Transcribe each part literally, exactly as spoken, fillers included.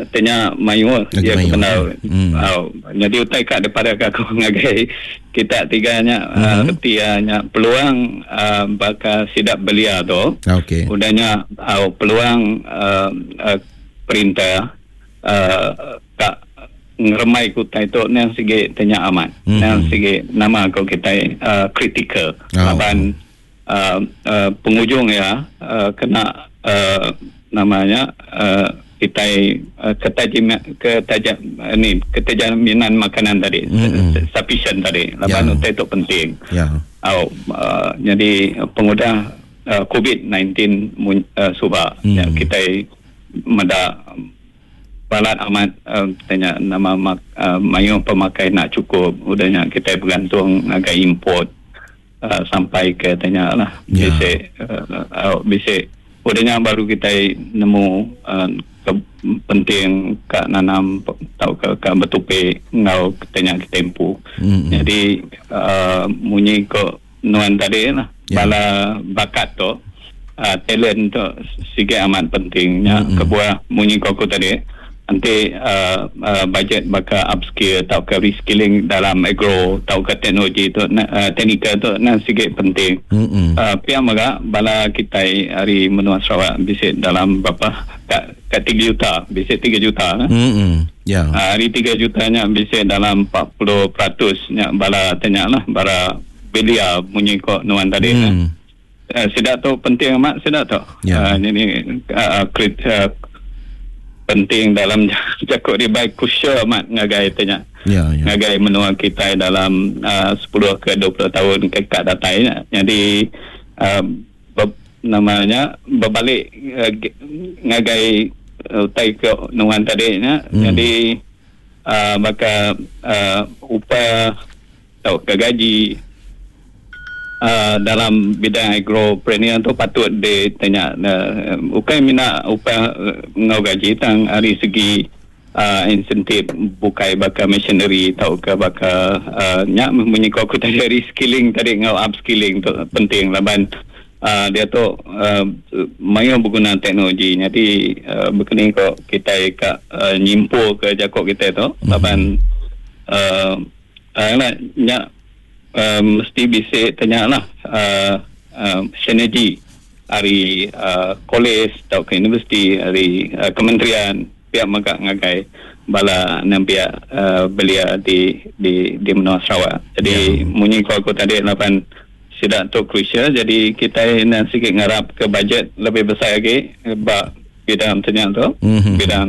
Tanya mayuh Lagi ya mayuh, kebenar. ya. Hmm. Uh, jadi utai kat daripada aku ngagai kita tiganya mm-hmm. uh, reti uh, nya peluang uh, bakal sidak belia tu. Okey. Udahnya uh, peluang uh, uh, perintah uh, kak ngeremai kutai tu nang sigi tanya amat. Mhm. Nang sigi nama ko kita uh, critical. Oh. Laban uh, uh, penghujung ya uh, kena uh, namanya uh, kita uh, ketajam ketajam uh, ni keterjaminan makanan tadi Mm-mm. sufficient tadi laban Ya. utai tu penting. Ya. Oh, uh, jadi pengudah uh, COVID nineteen mun, uh, suba Hmm. ya, kita meda balat amat uh, tanya nama mak, uh, mayu pemakai nak cukup udahnya kita bergantung agak import uh, sampai ke tanya lah Ya. bisik uh, uh, bisik udahnya baru kita nemu uh, ke, penting kat nanam atau ke, ke bertupi ngau tanya kita empu. Mm-mm. Jadi uh, munyi ko nuan tadi lah Ya. bala bakat tu uh, talent tu sikit amat pentingnya Mm-mm. kebuah munyi ko aku tadi nanti uh, uh, budget bakal upskill atau ke reskilling dalam agro atau ke teknologi tu na, uh, teknikal tu na sikit penting. Mm-mm. Uh, pihak mega bala kita hari menua Sarawak bisik dalam berapa kat, kat tiga juta bisik tiga juta eh. Mm-mm. Ya. Uh, hari tiga jutanya bisik dalam empat puluh peratus nya bala tanya lah bala belia bunyi kok nuan tadi Mm. mm. uh, sedak tu penting amat sedak tu. Ya. Uh, jadi uh, krit, uh, penting dalam cakap dia baik crucial amat ngagai tanya. Ya, ya. Ngagai menua kita dalam uh, sepuluh ke dua puluh tahun ke kat datai nya. Jadi uh, ber, namanya berbalik uh, ngagai uh, utai ke nuan tadi nya. Hmm. Jadi uh, maka uh, upah atau ke gaji uh, dalam bidang agropreneur tu patut ditanya uh, bukan mina upah uh, ngau gaji tang dari segi uh, insentif bukai bakal machinery atau ke bakal uh, nyak munyi ko aku tadi reskilling tadi ngau upskilling tu penting laban uh, dia tu uh, mayu berguna teknologi. Jadi uh, berkeni ko kita ka uh, nyimpul ke jakok kita tu Mhm. laban uh, uh, lah, nyak uh, mesti bisa tanya lah uh, uh, sinergi hari uh, college atau ke universiti hari uh, kementerian pihak maka ngagai bala enam pihak uh, belia di di di menua Sarawak. Jadi Ya. munyi ko aku tadi lapan sidak tu crucial. Jadi kita nak sikit ngarap ke bajet lebih besar lagi bak bidang tanya tu Mhm. bidang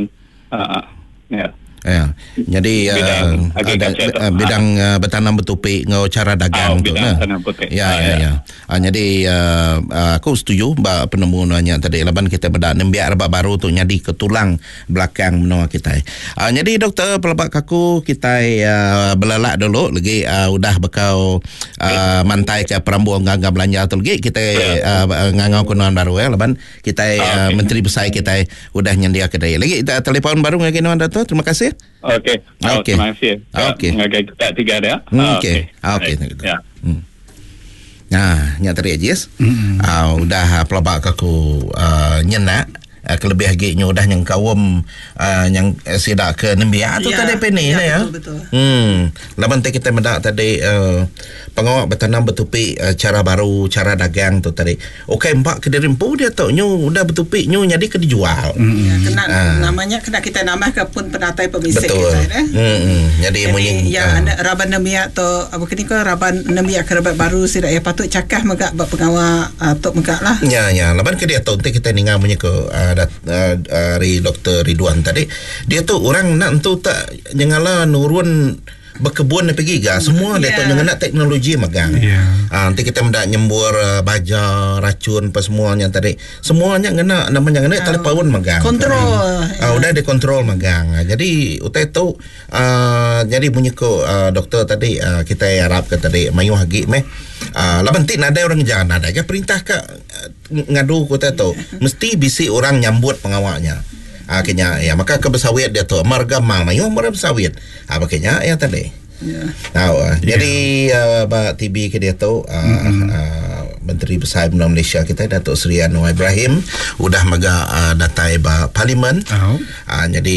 uh, ya. Ya. Jadi Bidang uh, agriculture ada, tu. uh, bidang uh, bertanam bertupik ngau cara dagang Ah, tu bidang nah. tanam bertupik. Ya Ah, ya ya. ya. Ah, jadi uh, uh, aku setuju ba penemu nanya tadi laban kita bedak nembiak rebak baru tu nyadi ke tulang belakang menua kita. Ah, jadi doktor pelabak kaku kita uh, belalak dulu lagi uh, udah bekau uh, mantai ke perambu gangga belanja tu lagi kita Ya. uh, ngangau kunuan baru ya laban kita Ah, uh, okey. menteri besar kita udah nyendia kedai. Lagi kita telefon baru ngagi nuan dato. Terima kasih. Okey. Oh, Okey. Terima kasih. Okey. Ngagai kita tiga dia. Hmm, okey. Ah, okey. Baik. Ya. Hmm. Nah, nya tadi Ajis. Mm-hmm. Uh, udah pelabak aku uh, nyenak uh, kelebih lagi nyu udah yang kawam uh, yang uh, sidak ke nembiak tu Ya, tadi peni ya, ya. betul, betul. Hmm, laban tadi kita mendak tadi uh, pengawak bertanam bertupi uh, cara baru, cara dagang tu tadi. Okey, mbak ke diri empu dia tu nyu udah bertupi nyu jadi ke dijual. Ya, kena Ah. namanya kena kita nambah ke pun penatai pemisik Betul. kita eh. Hmm, hmm. Jadi, Jadi munyi ya ah. anak raban nemiak tu apa kini ko raban nemiak ke raban baru sidak ya patut cakah megak bab pengawal uh, tok megak lah. Ya, ya. Laban ke dia tu nanti kita ninga punya ke uh, dat, uh, dari Doktor Ridwan tadi. Dia tu orang nak tu tak nyengala nurun berkebun dia pergi ga. Semua dia tu Ya. nyengena teknologi megang. Ya. Ah, nanti kita mendak nyembur uh, baja, racun apa semuanya tadi. Semuanya ngena namanya ngena telefon megang. Kontrol. Ah, udah dikontrol magang. Ah, jadi utai tu uh, jadi bunyi ko uh, doktor tadi uh, kita harap ke tadi mayuh agi meh. Uh, laban ti nadai orang jangan nadai ke perintah ke uh, ngadu ko tu mesti bisi orang nyambut pengawaknya. Ah kenya ya maka ke bersawit dia tu marga mal mayuh marga bersawit. Ah makanya ya tadi. Ya. Tahu ah. Jadi uh, ba T B ke dia tu uh, mm-hmm. uh, Menteri Besar Menua Malaysia kita Datuk Seri Anwar Ibrahim udah mega uh, datai ba parlimen. Oh. Uh, jadi